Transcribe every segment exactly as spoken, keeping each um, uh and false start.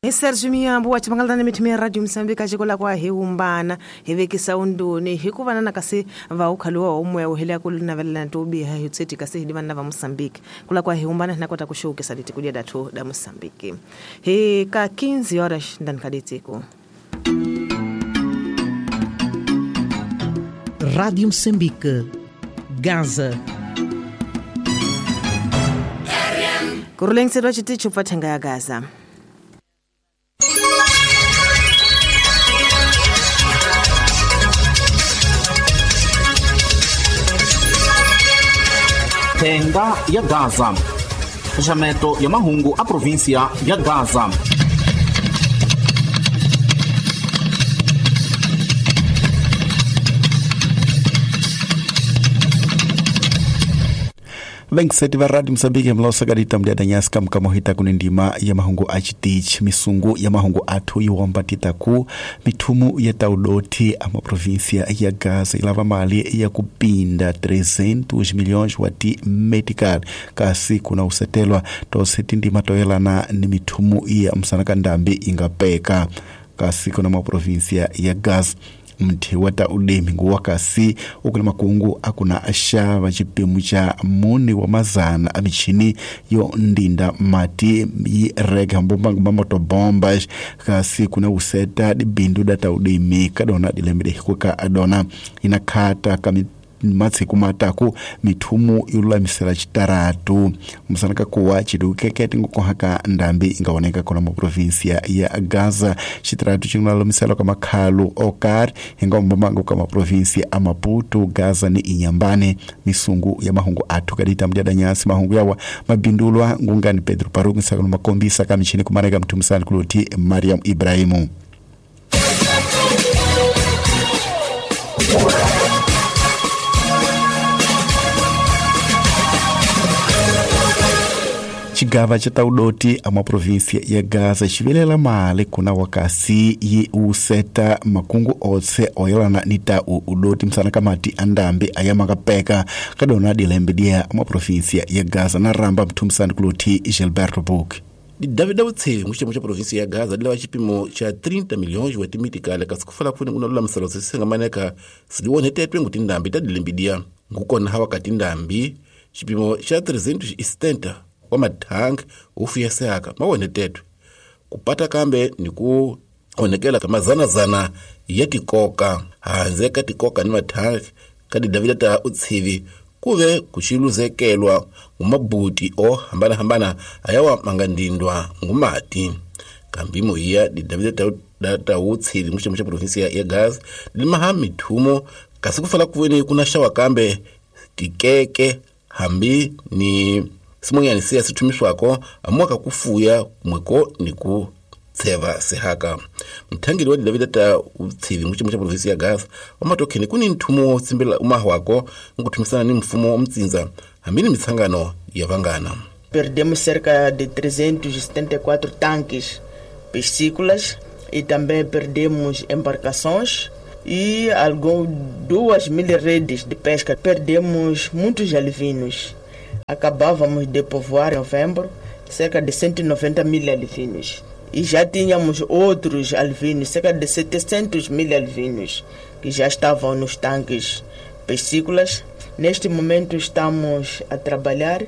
Hi Serge Miyambo wa Chimangalana mithimi ya Radio Mozambique xikola kwa hi umbana hi vekisa unduni hikuva na kasi va ukhaliwa umwe uhela ku navelela to biha hi tseti kasi hi vana va Mozambique kula kwa hi umbana na kota ku showcase leti kudia datu da Mozambique hi ka quinze horas ndani kaditiko. Rádio Moçambique, Gaza. Kurulengselwa chiticho pathenga ya Gaza. Thenga ya Gaza. Xaxameto ya mahungu a província ya Gaza. Vengiseti va Radio Mozambique mlosakadita mdiadanyasi kamkamohita kunendima ya mahungu a chitichi misungu ya mahungu athu iwambatita ku mithumu ya taudoti a maprovíncia ya Gaza ilava mali ya kupinda trezentos milhões wa ti medical kasi kuna usetelwa tose tindima toyelana ni mithumu ya msanakandambi ingapeka kasi kuna maprovíncia ya Gaza. Mthi wa ta ulimi nguwa kasi ukula makungu akuna axava xipimo xa mune wa mazana a michini yo ndinda mati yi rega mbomba motobombas kasi kuna useta dibindu da ta ulimi kadona dilembe hikuka adona inakhata kami matsiku mataku mithumu yolulamisela xitaratu musanaka kuwa chidukekete ngokohaka ndambi ingaoneka kona mu província ya Gaza xitaratu xingalulamisela ka makhalu okar hingaombomango ka maprovíncia a Maputo, Gaza ni Inhambane. Misungu ya mahungu athu kadita mdyadanyasi mahungu yawa mabindulwa ngungani Pedro Paruku nsakano makombisa ka michini kumareka mthumusani kuloti Mariam Ibrahimu. Xigava xa taudoti a maprovíncia ya Gaza xivelela mali kuna wakasi yi useta makungu otse oyelana ni ta udoti msana kamati andambi ayamakapeka kadona dilembe dia maprovíncia ya Gaza na ramba mthumisani kuloti Gilberto Book. Davida Utsevi muxitemo xa província ya Gaza lava xipimo xa trinta milhões wa timitikale kasi ku fala kufuni kuna lulamiselo sisingamaneka siliwonhetetwe ngu tindambi ta dilembe ngukona hawa ka tindambi xipimo xa trezentos e setenta wa mathangi wo fuyeseka mawonhetetwe kupata kambe ni ku onhekela ka mazanazana ya tikoka handle ka tikoka ni mathangi ka tidavida ta Utsivi kuve ku xiluzekelwa ngumabuti o hambanahambana ayawa mangandindwa ngumati kambi moya tidavida ta ta Utsivi muxitemo xa província ya Gaza limaha mithumo kasi ku fala kuveni kuna xawa kambe tikeke hambi ni simonyani siya sithumiswako amuaka kufuya kumweko ni ku tseva sehaka mthangeli wa Davida ta Utsivi muxitemo xa província ya Gaza wamatokheni kuni nthumo wo tsimbela umahwako nkuthumisana ni mfumo wa hambi ni mitsangano ya vangana. Perdemos cerca de trezentos e setenta e quatro tanques piscícolas e também perdemos embarcações e algumas duas mil redes de pesca. Perdemos muitos alevinos. Acabávamos de povoar em novembro cerca de cento e noventa mil alevinos. E já tínhamos outros alevinos, cerca de setecentos mil alevinos, que já estavam nos tanques piscícolas. Neste momento estamos a trabalhar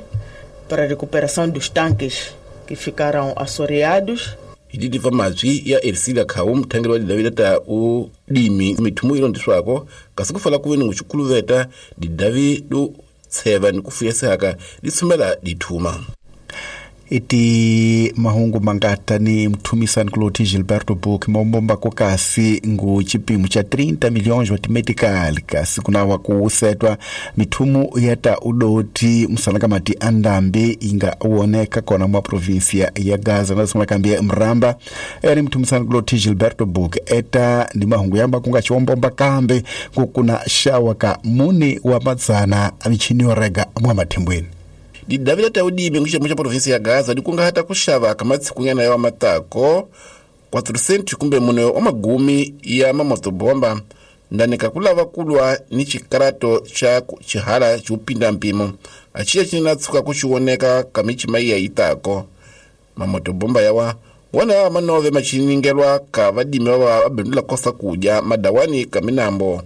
para a recuperação dos tanques que ficaram assoreados. Hididiva mazwi ya Ercilia Khau mthangeli wa Davida ta udimi mithumu ilondiswako kasi ku fala kuveni nguxikuluveta didavi do tseva ni ku fuyeseka di dithuma. Iti mahungu mangata ni mthumisani kuloti Gilberto Book mombomba kasi ngu chipimo cha trinta milhões wa timetical kasi kunawa kusetwa mithumu yata udoti msanaka mati andambi inga uoneka kona mwa província ya Gaza na sima kambia mramba eri mthumisani kuloti Gilberto Book eta ni mahungu yamba kunga chiwombomba kambe kukuna shawa ka muni wa madzana amichini orega mwa mathimbweni. Didavida ta udimi nguxitemo xa província ya Gaza dikungahata ku xava ka matshikunyana ya matako quatrocentos kumbe mune wa magumi ya mamotobomba ndani ka kulava kulwa ni xikarato xa xihala xo pinda mpimo axiya xi na tshuka ku xioneka ka michima ya itako mamotobomba yawa Wana manove machiningelwa ka vadimi va abindula kosa kuja madawani ka minambo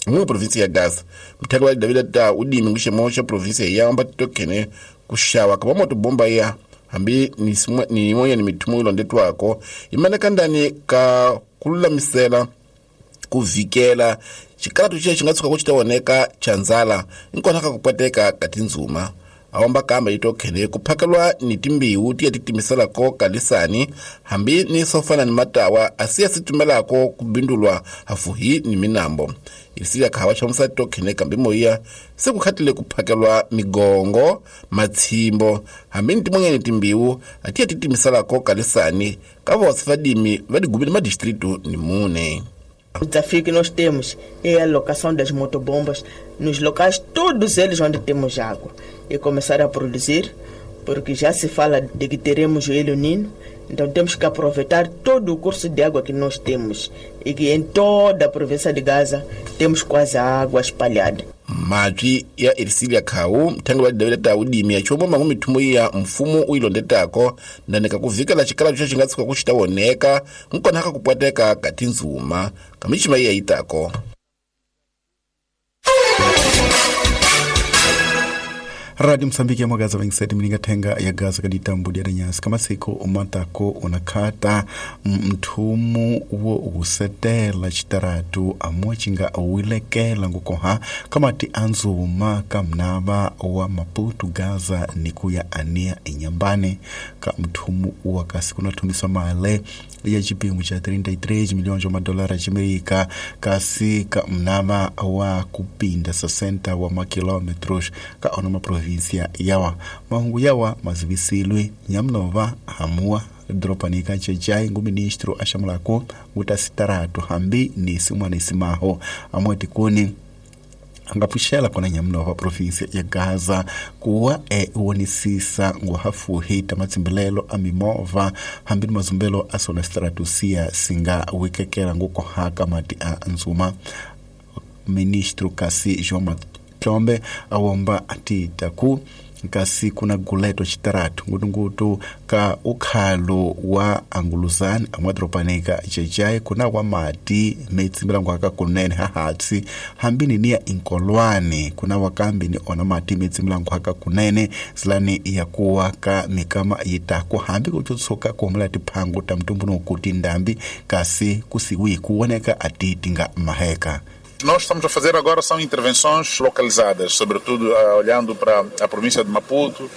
mu provinsi ya Gaza. Mthaka wa David ta udimi ngushemo cha provinsi ya amba tokene kushawa kama moto bomba ya hambi ni ni moya ni mitumo ilondetwako imaneka ndani ka kululamisela kuvikela chikalatu chiya chingatsuka kuchitaoneka chanzala nkona kakupwateka katinzuma awamba kamba itokhene kuphakelwa ni timbiwu tiya titimiselako kalisani hambi ni sofana ni matawa asiya situmelako kubindulwa hafuhi ni minambo isiya khawa chamusa tokhene kambi moya sekukhatile kuphakelwa migongo matshimbo hambi ni timonyeni timbiwu atiya titimiselako kalisani kavose vadimi vadigubile madistritu ni mune. O desafio que nós temos é a alocação das motobombas nos locais, todos eles onde temos água, e começar a produzir, porque já se fala de que teremos o El Niño, então temos que aproveitar todo o curso de água que nós temos e que em toda a província de Gaza temos quase a água espalhada. Madzi ya Ersilia Khau mthangi wa David ta udimi ya chombo mangu mithumo ya mfumo uilondetako ndanika kuvikela chikala cho chingatsuka kuchitaoneka nkona kakupwateka katinzuma kamichima iya itako. Radio Msambiki ya Magaza vengiseti mininga tenga ya Gaza kaditambu dia nyasi kama siko umatako unakata mthumu wo usetela chitaratu amwachinga wilekela ngukoha kama ti anzuma kamnava wa Maputo Gaza nikuya ania inyambane ka mthumu wa kasi kunathumisa male ya chipimo cha trinta e três milhões de dólares amerika kasi ka mnava wa kupinda sessenta wa makilometros ka onoma província yawa mahungu yawa mazivisilwe nyamnova hamua dropanika chechai ngu ministro ashamulako ngutasitaratu hambi ni simwana isimaho amweti kuni angapfuxela kona nyamnova província ya Gaza kuwa e wonisisa nguhafuhi ta matsimbilelo a mimovha hambi ni mazumbelo a sona stratusia singa wikekela ngukohaka mati a nzuma. Ministro kasi João Matlombe awomba atita ku kasi kuna guleto chitaratu ngutungutu ka ukhalo wa anguluzani amwadropanika chechai kuna wa mati metsimbilango aka kunene hahatsi hambini niya inkolwane kuna wakambi ni ona mati metsimbilango aka kunene silani yakuwa ka mikama yitako hambi kuchotsoka kuhumula tiphangu ta mtumbuno kuti ndambi kasi kusiwi kuoneka atitinga maheka. Nós estamos a fazer agora são intervenções localizadas, sobretudo uh, olhando para a província de Maputo,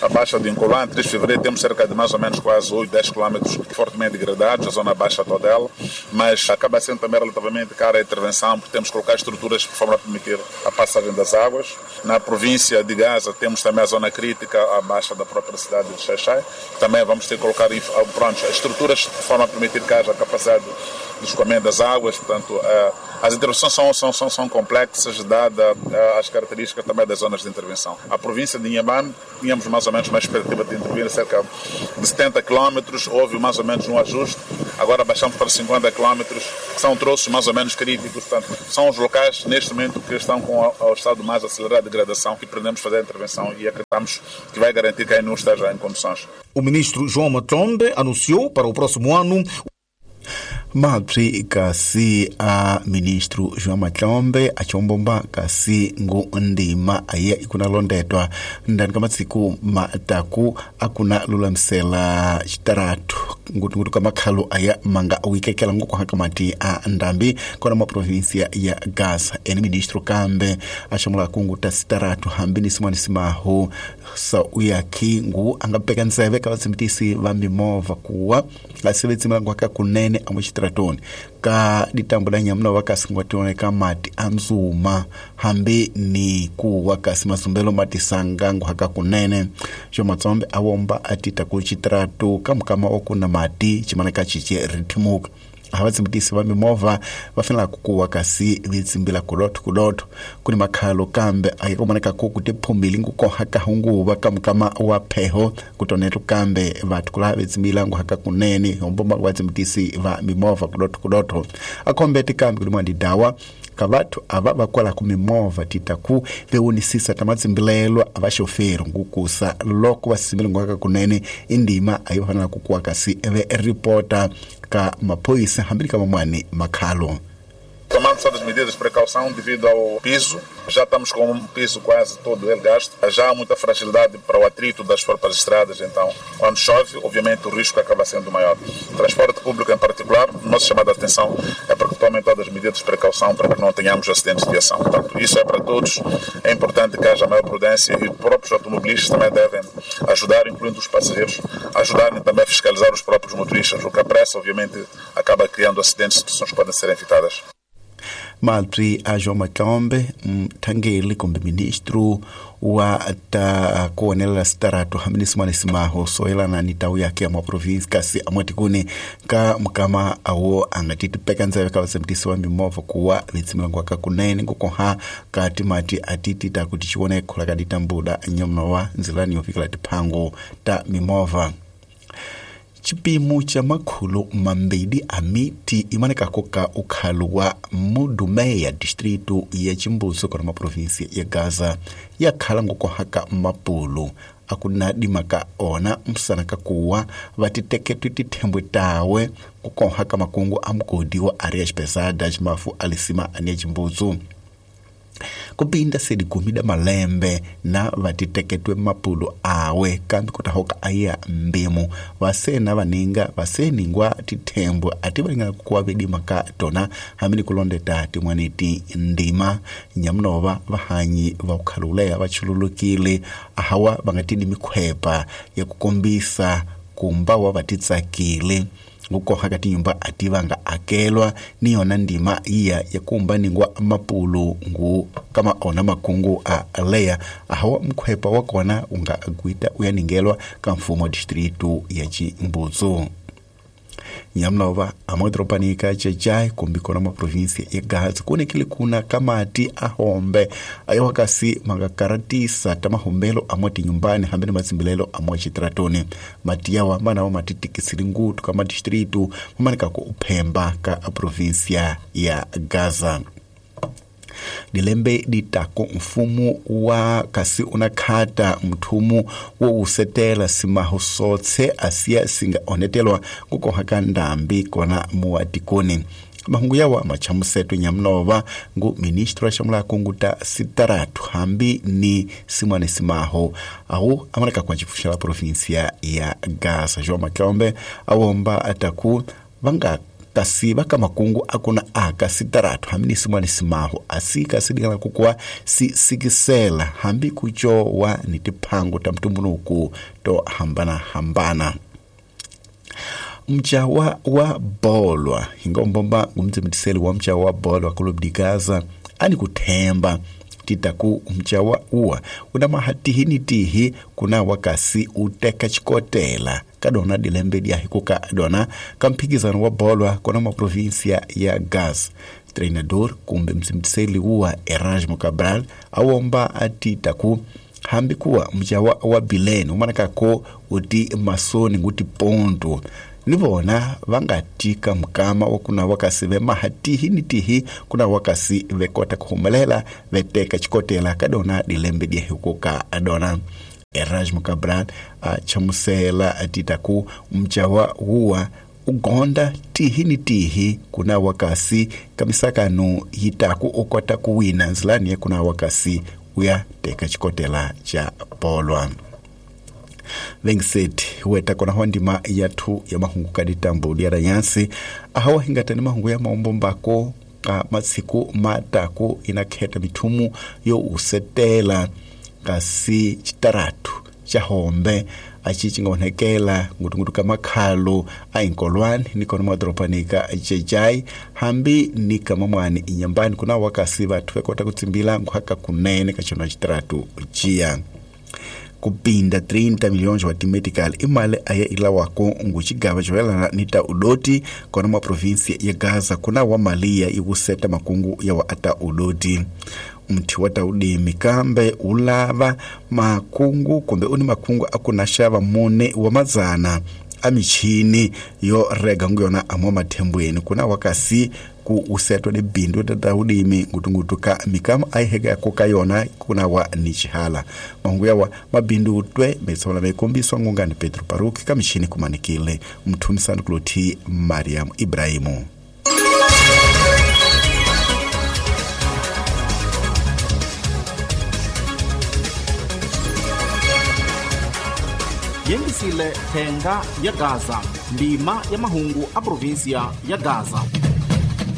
a Baixa de Incolã. três de fevereiro temos cerca de mais ou menos quase oito, dez quilômetros fortemente degradados, a zona baixa toda ela, mas acaba sendo também relativamente cara a intervenção, porque temos que colocar estruturas de forma a permitir a passagem das águas. Na província de Gaza temos também a zona crítica, a baixa da própria cidade de Xaixai. Também vamos ter que colocar pronto, estruturas de forma a permitir que haja capacidade de escoamento das águas. Portanto, uh, as intervenções são São, são, são complexas, dada as características também das zonas de intervenção. A província de Inhambane, tínhamos mais ou menos uma expectativa de intervir cerca de setenta quilômetros, houve mais ou menos um ajuste, agora baixamos para cinquenta quilômetros, que são troços mais ou menos críticos, portanto, são os locais neste momento que estão com o estado mais acelerado de degradação que pretendemos fazer a intervenção e acreditamos que vai garantir que a I N U esteja em condições. O ministro João Matlombe anunciou para o próximo ano Mapsi kasi a ministro João Matlombe achombomba kasi ngu ndima aye ikuna londetwa ndani kamatsiku mataku akuna lulamisela chitaratu ngutungutu kamakhalo aya manga wikekela ngukuhaka mati a ndambi kona ma província ya Gaza. Eni ministro kambe ashamula kungu ta sitaratu hambi ni simwani simaho sa uyakhi ngu angapeka ntseve ka vatsimitisi va mimovha kuwa asevetsima nguhaka kunene amwe chitaratoni ka ditambo la nyamuna wakasi ngwationeka mati anzuma hambi ni kuwa kasi mazumbelo matisanga nguhaka kunene. João Matlombe awomba atita ku chitaratu kamukama okuna mati chimaneka chiche rithimuka Havatsimbitisi va mimovha va fanela ku kuwa kasi vitsimbila kulotho kulotho kuni makhalo kambe ayikomaneka ku kutiphumile ngukoha ka hunguva ka mukama wa pheho kutonetu kambe vathu kula vitsimbila nguhaka kunene hombomba vatsimbitisi va mimovha kulotho kulotho akhombete kambe kulimwa ndidawa ka vathu ava vakwala ku mimovha titaku vewonisisa ta matsimbilelo a vaxoferi ngukusa loko va simbile nguhaka kunene indima ayi va fanela ku kuwa kasi ve ripota ka maphoyisa hambi ka mamwani makhalo. Tomando todas as medidas de precaução devido ao piso, já estamos com um piso quase todo ele gasto, já há muita fragilidade para o atrito das próprias estradas, então quando chove, obviamente o risco acaba sendo maior. Transporte público em particular, nossa chamada de atenção é para que tomem todas as medidas de precaução para que não tenhamos acidentes de viação. Portanto, isso é para todos, é importante que haja maior prudência e os próprios automobilistas também devem ajudar, incluindo os passageiros, ajudarem também a fiscalizar os próprios motoristas, o que a pressa, obviamente, acaba criando acidentes, situações que podem ser evitadas. Maltri a João Matombe, mthangeli kumbe ministro wa ta kuonelela sitarato hambinisumane simaho soyelana ni tawu yake ya mwaprovinsi kasi amwatikuni ka mukama awo angatitipeka ndzeve ka vatsembitisi va mimovha kuwa vitsimilangwa ka kunene ngukoha ka timati atiti ta kuti xivone khola ka ditambuda nyamuna wa ndzilani yo fikela tiphango ta mimovha. Chipimo cha makhulu mambili a miti imanekako ka ukhalo wa Mudumeya distrito ya Chimbuzo kona maprovinsi ya Gaza ya khala ngukohaka mapulu akuna dimaka ona msana kakuwa vatiteketwe tithembwe tawe kukohaka makungu a mugodi wa Arias Pesadas mafu alisima ania Chimbuzo kupinda sedi gumida malembe na vatiteketwe mapulu awe kambi kutahoka aya mbimu vasena vaninga vaseningwa tithembwe ati valinga kuwa vidima ka tona hamini kulondeta timwaniti ndima nyamunova vahanyi va kukhaluleya vachululukile ahawa vangatidi mikhwepa ya kukombisa kumba wa vatitsakile ngukoha ka tinyumba ati vanga akelwa ni yona ndima iya ya kumba ningwa mapulu ngu kama ona makungu a leya ahawa mkhwepa wa kona unga gwita uyaningelwa ka mfumo distritu ya Chimbuzo. Nyamlova amodropanika chechai kumbi kona maprovinsi ya Gaza kunekile kuna kamati ahombe ayowakasi makakaratisa tamahombelo amoti nyumbani hambeni matsimbilelo amo chitratoni matiyawa manawo matitikisili ngutu kama distritu mamanikako uphemba ka provinsia ya Gaza. Dilembe ditako mfumo wa kasi unakhata mthumu wo usetela simaho sotse asiya singa onetelwa kukoha ka ndambi kona muatikoni mahungu yawa machamuseto nyamnova ngu ministro ashamula kunguta sitaratu hambi ni simwane simaho au amaneka kwa chifusha la provinsia ya Gaza. João Makombe awomba ataku vanga kasi baka makungu akuna aka sitaratu hamini simwani simaho asika sidikala kukua si sikisela hambi kuchowa ni tiphango ta mtumbunuku to hambana hambana. Mchawa wa bolwa hingombomba ngumtsemetiseli wa mchawa wa bolwa Club de Gaza ani kuthemba titaku mchawa uwa una mahatihini tihi kuna wakasi uteka chikotela kadona dilembe dia hikuka dona kamphikizano wa bolwa kona maprovinsia ya Gaza. Treinador kumbe msimtiseli uwa Erasmo Cabral awomba atitaku hambi kuwa mchawa wa bileni umanakako uti masoni nguti ponto nivona vangatika mukama wakuna wakasi vemahatihi tihi kuna wakasi vekota kuhumelela veteka chikotela kadona dilembe dia hikuka adona. Erasmo Cabral achamusela atitaku mchawa huwa ugonda tihi ni tihi kuna wakasi kamisakanu yitaku okota kuwina nzilani kuna wakasi uya teka chikotela cha polwa. Vengset weta kona hondima yathu ya mahungu kaditambo ya rayansi ahawa hingatani mahungu ya maombombako ka matsiku mataku inakheta mithumu yo usetela kasi chitaratu cha hombe achi chingaonekela ngutungutu ka makhalo a inkolwani nikona madropanika chechai hambi nikamamwani inyambani kuna wakasi vathu vekota kutsimbila nkhwaka kunene kachona chitaratu chiya. Kupinda trinta milhões wa timetical i mali aya ilawako ngu xigava xoyelana ni ta udoti kona mwa província ya Gaza kuna wa mali ya iwuseta makungu ya wa ata udoti. Mthi wa ta udimi kambe wu lava makungu kumbe u ni makungu a ku na xava mune wa madzana a michini yo rega ngu yona a mwa mathembweni kuna wa kasi ku usetwa ni bindu ta udimi ngutungutu ka mikamu a yi heka ka yona kuna wa ni xihala. Mahungu yawa mabindu twe metsola mekombiswa ngungani Pedro Paruki ka michini kumanikile mthumisani kulothi Mariam Ibrahimu. Yengisile thenga ya Gaza, ndima ya mahungu a província ya Gaza.